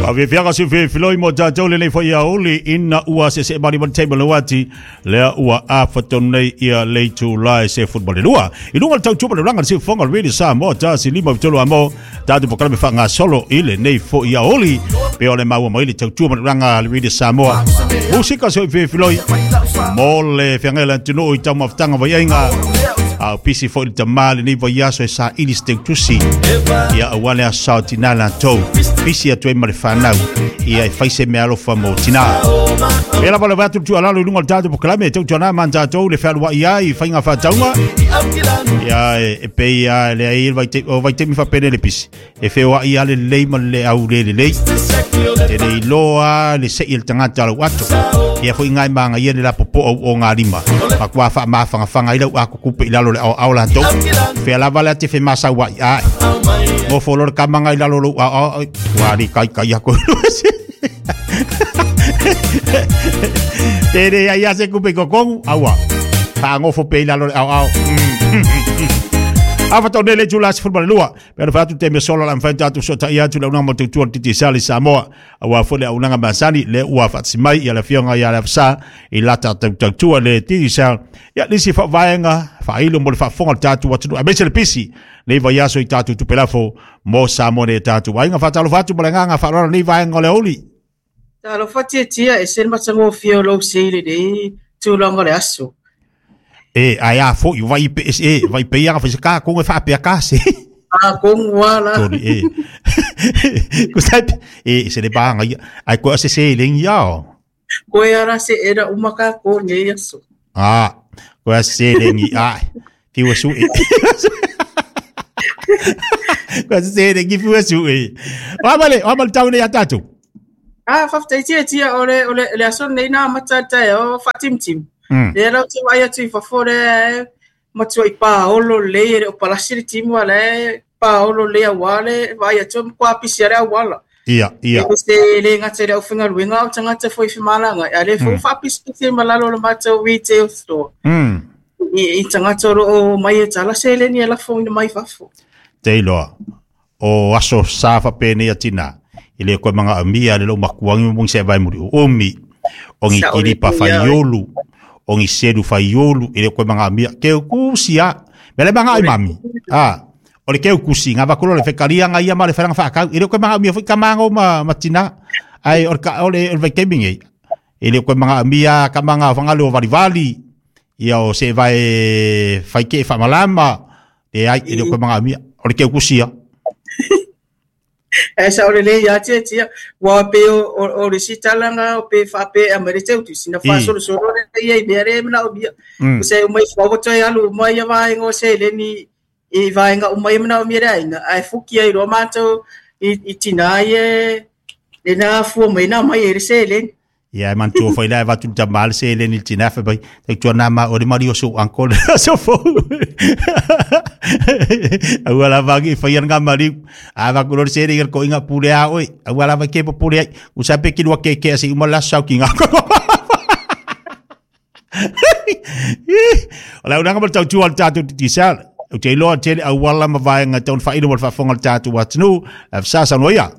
Faafiafiaga se filifiloi mo tatou lenei foi aoauli ina ua seesee malimali taimi o le uati lea ua afa tonu nei ia le itula e 12. I luga o le tautua ma le ulaga le siufofoga o le Radio Samoa 153 amo tatou polokalame faagasolo i lenei foi aoauli pe o le maua mai le tautua ma le ulaga le Radio Samoa. Musika se filifiloi mo le feagai o le atunuu i taumafataga vaiaiga a o pisi foi le tamā lenei vaiaso e saili se teutusi ia aua le aso sa o tinā latou pisi atu ai ma le fanau ia e fai se meaalofa mo tinā. E lava le atu tuualalo i luga o le tatou polokalame e tautuana ma tatou le fealuai ai i faiga faatauga ia e pei a le ai o vaitaimi faapene le pisi e feoai a lelei ma le au le lelei e le iloa le sei le tagata lau ato ia foi ngai manga ia le lapopo au o ngā lima ma kua wha mawhangawhanga i lau a kukupe i lalo le ao ao latou whea lava le ate whe masau ai ai mo folo le kamanga i lalo lou ao ao ua li kai kai ako Tere ai a se kupe kokongu aua whaangofo pe i lalo le ao ao Afa tau nele tula 12 Pe ona atu te mea sola la mawhai tātou so tai atu le unanga mo te utua titi sali Samoa. Aua fo le unanga masani le ua whaatsi mai ia le fionga ia le afsa i lata tau tautua le titi sal. Ia nisi wha vaenga whailo mo le whaafonga le tātou atunu. A mese le pisi nei vai aso i tātou tupelafo mo Samoa nei tātou. Ainga whaatalo whaatu mo le nganga whaarora nei vaenga o le oli. Talofa tiatia e se le matagofie o lou sei lenei tulaga o le aso. E, ai a foi, vai pe, e, vai pe ia fai ka ko fa pe ka se. A kongu ala. Tony e. Ko sai e se le banga ia. Ai ko se se le ia. Ko e ara se era uma ka ko nei aso. Ah, ko se le ngi ai. Fiwa su e. Ko se le ngi fiwa su e. Wa male, wa male tau nei a tātou. Ah, faafetai tiatia o le o le le aso nei na amata le taeao faatimutimu. Lea la ou te vaai atu i fafo lea e matua i paolo lelei e le o palasi le timu a la e paolo lelei auā le vaai atu e matua pisi lava le auala. Ia, ia. E se le gata i le aufaigaluega a o tagata foi i femalagaai a o lea foi ua faapisipisi ai ma lalo o le matou retail store. I tagata o lo o omai e tala seleni e lafoina mai fafo. Te iloa. O aso sa fapenei a tina, i le koe manga amia le lou makuangi mo se vai muri o omi, o ngi kilipa faiolu, o ngi selu faiolu, i le koe manga amia, ke kusi a, me le manga ai mami, a, o le keu kusi, ngā vakulo le whekaria ngā ia ma le wharanga whaakau, i le koe manga amia fui ka mango ma, ma tina, ai, o le, o le, o le vaikemi ngei, i le koe manga amia ka manga whangalu o valivali, ia o se vai whaike e whamalama, e ai, e le koe manga amia, o le keu kusi a. E sa o le lei ia tia tia, ua pe o le isi tala nga o pe whaape a mere teu tusi, na whaasolosolo le ia i mea re mana o mia. O se umai whawa toi alu umai ia vaenga o se leni i vaenga umai mana o mia le ainga, ai fuki ai roa mātou i tina ai e le nā fua mai nā mai e le seleni. Ia e manatua foi la e avatu le tama le seleni i le tina fai mai, tautua nā ma o le mali o sou uncle le aso fou. Aua lava agi e fai ana ngā maliu. A avatu loa le seleni i le koʻiga pule a oe. Aua lava ke popole ai. Usa pe ki lua keke a se uma le aso sau ki ngā O le aunaga ma le tautua o le tatou Digicel. Ou te iloa tele auala ma vaega e tau ona faailo mo le faafofoga a le tatou atunuu. Afisa saunoa ia.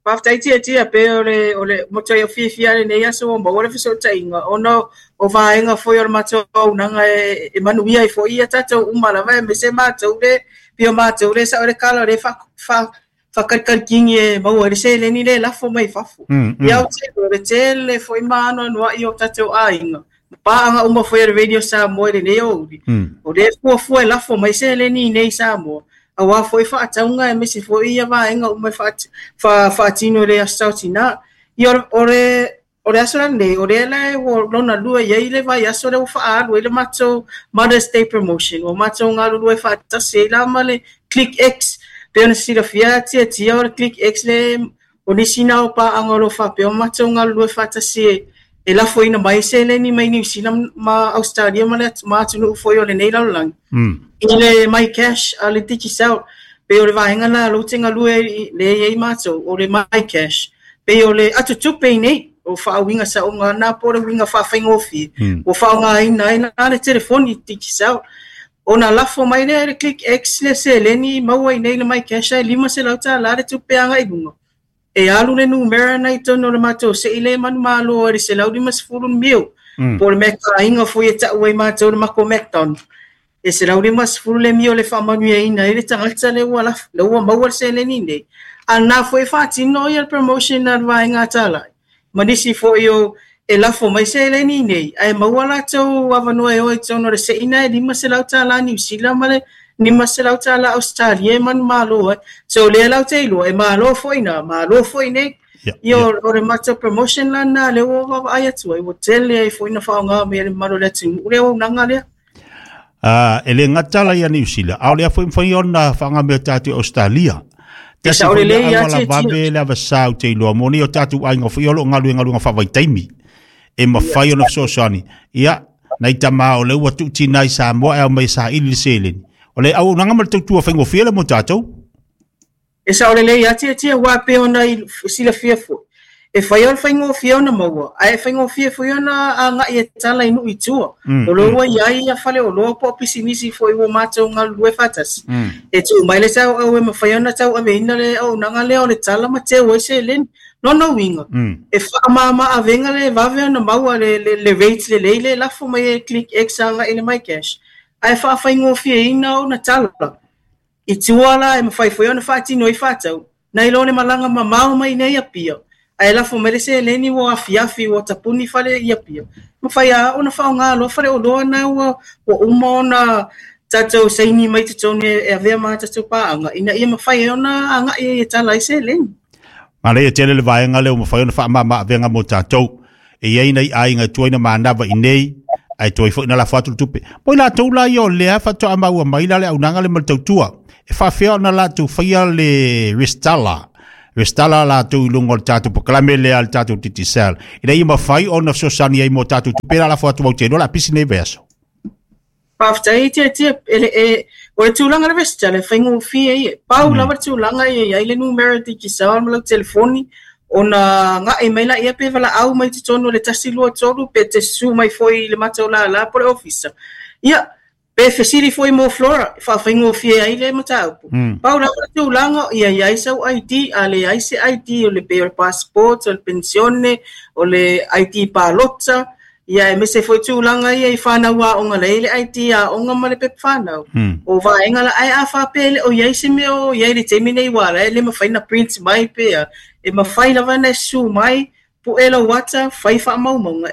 Faafetai tiatia pe o le o le matuai o fiafia lenei aso ua maua le fesootaiga ona o vaega foi o le matou auaunaga e manuia ai foi ia tatou uma lava aemaise matou le pei o matou le sao le kala o le faakalikalikingi e maua ai le seleni le lafo mai fafo. Ia ou te iloa le tele foi ma anoanoai o tatou aiga ma paaga uma foi a le Radio Samoa i lenei aoauli, o lea e fuafua e lafo mai seleni i nei i Samoa, auā foi faatauga aemaise foi ia vaega uma e faatino i le Aso Saotina. Ia o le o le aso lenei, o lea la ua lona lua i ai le vaiaso lea ua faaalu ai le matou Mother's Day Promotion. Ua matou galulue faatasi ai la ma le Click X. Pei ona silafia tiatia o le Click X le O nisi na o paaga o lo o faapea o matou galulue faatasi e lafoina mai seleni mai Niu Sila ma Ausetalia ma le ma atunuu foi o lenei lalolagi i le My Cash a le Digicel. Pei o le vaega la lou te galue le i ai matou o le My Cash. Pei o le atutupe i nei o faauiga saoga na po o le uiga faafaigofie ua faaaogaina ai la le telefoni Digicel. Ona lafo mai lea e le Click X le seleni maua i nei le My Cash ae $500 le tupe agai i luga. E alu le numera na i totonu o le matou se'i lea e manumalo ai le 150 miu. Po o le meataaiga foi e tau ai matou le mako McDonald. E 150 le miu le faamanuiaina ai le tagata lea ua lafo, lea ua maua le seleni nei. A na foi e faatino ia le promotion a le vaega atalai. Ma nisi foi o e lafo mai seleni nei, ae maua latou avanoa e o i totonu o le se'i na e $500 Niu Sila ma le $500 Ausetalia e manumalo ai. So lea lau te iloa, e malo foi na, malo foi nei. Ia o le matou promotion la na lea ua vaavaai atu ai, ua tele ai foi na faaaoga mai e le mamalu o le atunuu le auaunaga lea. E le gata la ia Niu Sila, a o lea foi mafai ona faaaoga mai e tatou i Ausetalia. E Tasi sao foi lelei lea ia auala tia tia. vave le avasā ou te iloa mo nei o tatou aiga foi o lo o galuega faavaitaimi e mafai ona fesoasoani. Ia, nai tama o lea ua tuutina i Samoa e ao mai e saili le seleni. O le auaunaga ma le tautua faigofie le mo tatou. E sao lelei ia tia tia ua pei ona i silafia foi. E fai o le faigofie ona maua, ae e faigofie foi ona agai e tala i nuu i tua. O lea ua i ai ia faleoloa po o pisinisi foi ua matou galulue faatasi. E tuu mai le tauau e mafai ona tauaveina le auaunaga lea o le tala ma teu ai seleni. Lona uiga, e faamama avega le vave ona maua le rate lelei le lafo mai e Click X agai i le MyCash, ae faafaigofieina ona tala. I tua la e mafai foi ona faatino ai faatau, nai lo le malaga mamao mai nei Apia, ae lafo mai le seleni ua afiafi ua tapuni fale i Apia. Mafai lava ona faaaoga loa faleoloa na ua uma ona tatou saini mai totonu e avea ma tatou paaga, ina ia mafai ai ona agai ai e tala ai seleni. Manaia tele le vaega lea ua mafai ona faamama avega mo tatou. E i ai nai aiga e tuai na manava i nei, ae tuai foi na lafo atu le tupe. Mo i latou la ia o lea faatoa maua mai la le auaunaga le ma le tautua. E faafefea ona latou faia le restala. Restala latou i luga o le tatou polokalame lea a le tatou Digicel. Ina ia mafai ona fesoasoani ai mo tatou tupe la lafo atu au te iloa o le a pisi nei vaiaso. Faafetai tia tia, e o le tulaga le resitala e faigofie ia. Pau lava le tulaga ia i ai le numera Digicel ma lau telefoni, ona agai mai laia pe valaau mai totonu o le 123 pe te susu mai foi i le matou lala po o le ofisa. Ia, pe fesili foi mo Flora, e faafaigofie ai le mataupu. Pau lava le tulaga ia i ai sau ID, a leai se ID o le pe o le passport, o le penisione, o le ID palota, ia aemaise foi tulaga ia i whanau aoga le i le ID aoga ma le pepa whanau. O vaega la ae a faapea e le o i ai se mea o i ai le taimi nei ua ala e le mafai na print mai pea. E mafai lava na susu mai, pu'e lau ata, fai faamaumauga.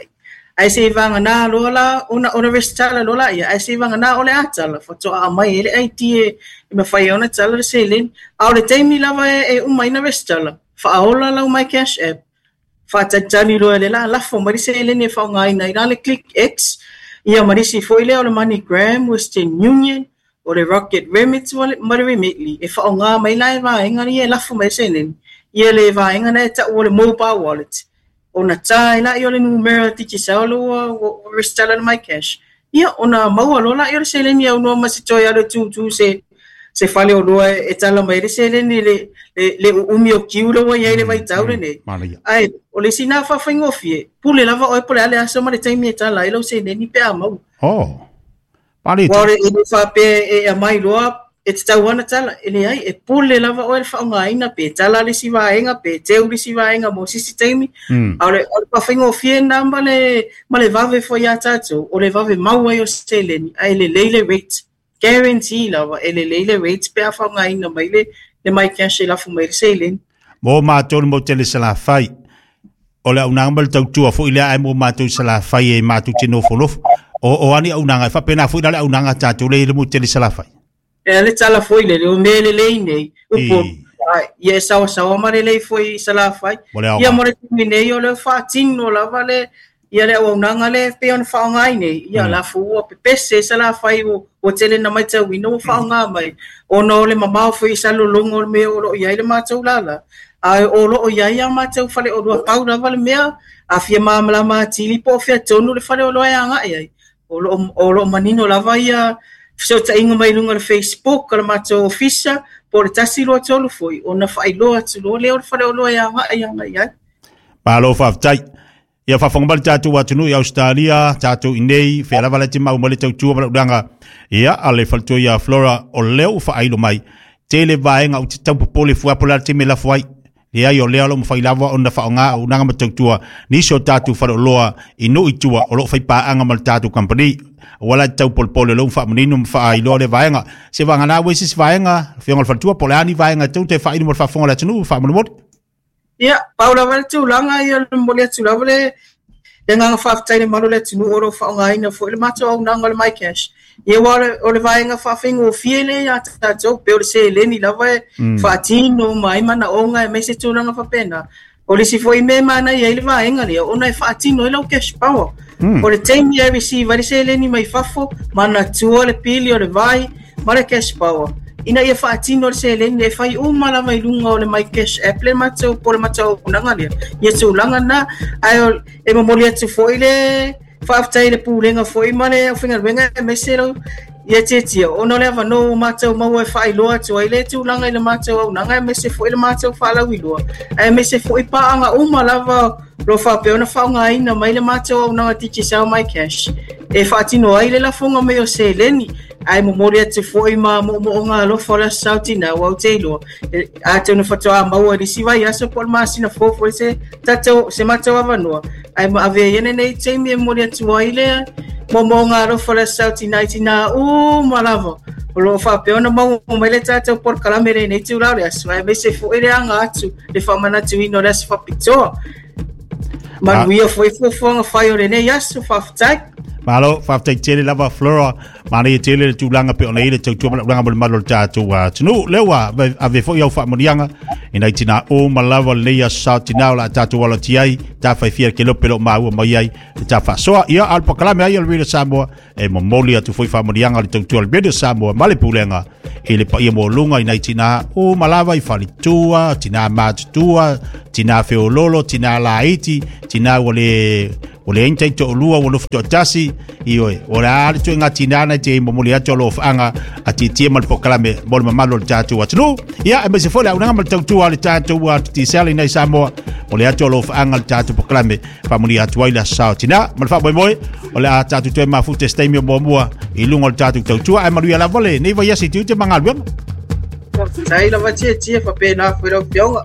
Ae se i vagana loa la, ona resitala loa la ia, ae se i vagana o le a tala, faatoa aumai ai le ID e mafai ai ona tala le seleni. A o le taimi lava e uma ai na resitala, faaola lau My Cash App, faatalitali loa e le la lafo mai le seleni e faaaogaina ai la le Click X, ia ma nisi foi lea o le MoneyGram, Western Union, o le Rocket Remit ma le Remitly, e faaaoga mai la e vaega ia e lafo mai le seleni, ia le vaega na e tau o le mobile wallet. Ona tā ai la ia o le numera Digicel ua resitala le MyCash. Ia, ona maua loa la ia o le seleni au noa ma se toe alu e tūtū se faleoloa e tala mai le seleni le uumi o kiu le ua i ai le vaitau lenei. Ae, o le isi na faafaigofie, pule lava oe po o le a le aso ma le taimi e tala ai lau seleni pe a maua. Oh. Pale Ua o le e le faapea e aumai loa e tatau ana tala, e leai, e pule lava oe le faaaogaina pe tala le isi vaega, pe teu le isi vaega mo se isi taimi. A o le faafaigofie lena ma le vave foi ia tatou, o le vave mau ai o seleni, ae lelei le rate. Guarantee lava, e lelei le rate pe a faaaogaina mai le MyCash e lafo mai le seleni. Mo matou le mau tele Salafai, o le auaunaga ma le tautua foi lea ae mo matou i Salafai e matou te nofonofo. O ani auaunaga, e faapena foi la le auaunaga a tatou le i le mo tele Salafai. E le tala foi lele, o mea lelei nei, upu, ia e sawasawa ma lelei foi i Salafai. Ia mo le taimi nei o le faatino lava le ia le auaunaga le pei ona faaaoga nei, ia la fu ua pepese i Salafai ua tele na matauina ua faaaoga mai, ona o le mamao foi i Salelologa o le mea o loo i ai le matou lala. Ae o loo i ai a matou faleoloa pau lava le mea, a fia malamalama atili po o fea tonu le faleoloa e agai ai. O loo manino lava ia fesootaiga mai luga o le Facebook o le matou ofisa, po o le 123 foi, ona faailoa atu loa lea o le faleoloa e agai agai ai. Malo faafetai. Ia faafofoga mai le tatou atunuu i Australia, tatou i nei, fea lava le te mau mai le tautua ma le auaunaga. Ia, a le faletua ia Flora, o lea ua faailo mai, tele vaega ou te tau popole fua po o le a le taimi e lafo ai. Leai o lea o lo o mafai lava ona faaaoga auaunaga ma tautua nisi o tatou faleoloa i nuu i tua o lo o faipaaga ma le tatou kamupani. Aua la e te taupolepole o lea ua faamanino ma faailoa lea vaega. Se vagana ua i se isi vaega, Afioga i le Faletua, po o le a ni vaega e tatau ona toe faailo mo le faafofoga a le atunuu faamolemole. Ia, pau lava le tulaga ia o le momoli atu lava le le agaga faafetai i le mamalu o le atunuu o lo o faaaogaina foi le matou auaunaga o le MyCash. Ia aua o le vaega faafaigofie lea ia tatou, pei o le seleni lava e faatino uma ai manaoga aemaise tulaga faapena. O le isi foi mea e manaia ai le vaega lea, ona e faatino ai lau cash power. O le taimi e receive ai le seleni mai fafo, manatua le pili o le vai ma le cash power, ina ia faatino le seleni e fai uma lava i luga o le My Cash App le matou po o le matou auaunaga lea. Ia tulaga na, ae e momoli atu foi le faafetai i le Pulega foi ma le aufaigaluega aemaise lau ia Tietia ona o le avanoa ua matou maua e faailoa atu ai le tulaga i le matou auaunaga aemaise foi le matou faalauiloa aemaise foi paaga uma lava o lo o faapea ona faaaogaina mai le matou auaunaga Digicel My Cash e faatino ai le lafoga mai o seleni ae momoli atu foi ma moomooga alofa o le Aso Saotina aua ou te iloa atonu faatoa maua i le isi vaiaso po o le masina fou foi se tatou se matou avanoa ae ma avea ia lenei taimi e momoli atu ai le moomooga alofa o le Aso Saotina i tinā uma lava o lo o faapea ona maua mai le tatou polokalame i lenei itula o le aso aemaise foi le aga atu le faamanatuina o le aso faapitoa. Manuia foi fuafuaga fai o lenei aso, faafetai. Malo, faafetai tele lava Flora, manaia tele le tulaga pe ona i le tautua ma le auaunaga mo le mamalu o le tatou atunuu. Lea ua ave foi au faamanuiaga i nai tinā uma lava lenei aso sa tinā o le a tatou alo atu ai, ta faifia le kelope o lo o maua mai ai le ta faasoa. Ia, a o le polokalame ai o le Radio Samoa e momoli atu foi faamanuiaga o le tautua o le Radio Samoa ma le Pulega i le paia maualuga i nai tinā uma lava i faletua, tinā matutua, tinā feololo, tinā laiti, tinā ua le ua leai ni taitoalua ua nofo toatasi, ioe, o le a le ituaiga tinā na te momoli atu alofaaga a Tietie ma le polokalame mo le mamalu o le tatou atunuu. Ia, aemaise foi le auaunaga ma le tautua a le tatou Digicel i nai Samoa, momoli atu alofaaga le tatou polokalame faamanuia atu ai le aso sao tina ma le faamoemoe o le a tatou toe mafuta se taimi o muamua i luga o le tatou tautua ae manuia lava lenei vaiaso i tiute ma galuega. Faafetai lava Tietie, faapena foi lau Afioga.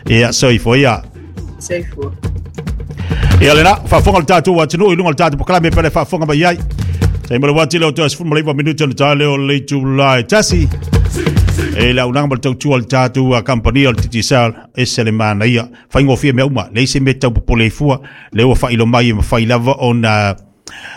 Ia, soifua ia. Soifua. Ia lena, faafofoga le tatou atunuu i luga o le tatou polokalame pe le faafofoga mai ai. Taimi o le uati lea o toe 19 minute ona ta lea o le itula e tasi. E le auaunaga ma le tautua a le tatou kamupani o le Digicel, ese le manaia. Faigofie mea uma, leai se mea e tau popole ai fua, lea ua faailo mai e mafai lava ona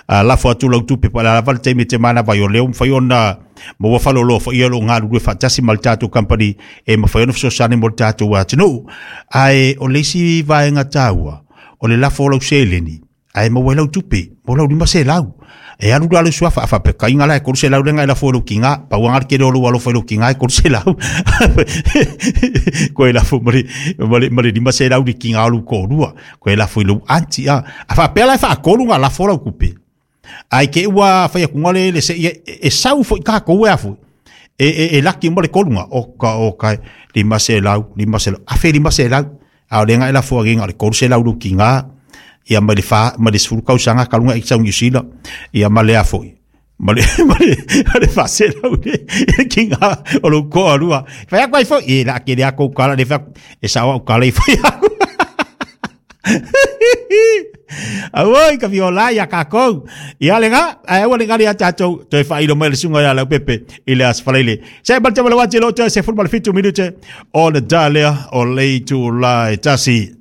lafo atu lau tupe po o le a lava le taimi e te manava ai, o lea ua mafai ona maua faleoloa foi ia o lo o galulue faatasi ma le tatou kamupani e mafai ona fesoasoani mo le tatou atunuu. Ae o le isi vaega taua, o le lafo o lau seleni, ae maua ai lau tupe mo lau 500. E alu la lou suafa, a faapea kaiga la e 300 lea na e lafo i lou tiga, pau lava le tele o lou alofa i lou tiga e 300. Koe lafo ma le, ma le, ma le 500 i le tiga o lou toalua, koe lafo i lou aunty. A, a faapea la e faatolu ona lafo lau tupe, ae te i ua fai atu le, le se, e, e sau foi tatou e a foi, e, e, e laki uma le tolu na, oka, oka, 500, 500, 1500. A o lea na e lafo agi na o le 300 lou tiga, ia mai le fa, mai le 10 tausaga talu ona e sau i Niu Sila, ia ma le a foi, ma le, ma le, ma le 400 le tiga o lou toalua. Fai atu ai foi, e la tele a tou tala, le fai atu, e sao au tala i fai atu. Auoi ka fiola ia kākou. Ia le ngā, ae aua le ngari a tātou, toe whailo mai le sunga ia lau pepe i le aso faleile. Se mal te wala wati lo te se 17 minute o le dalea o le itula e tasi.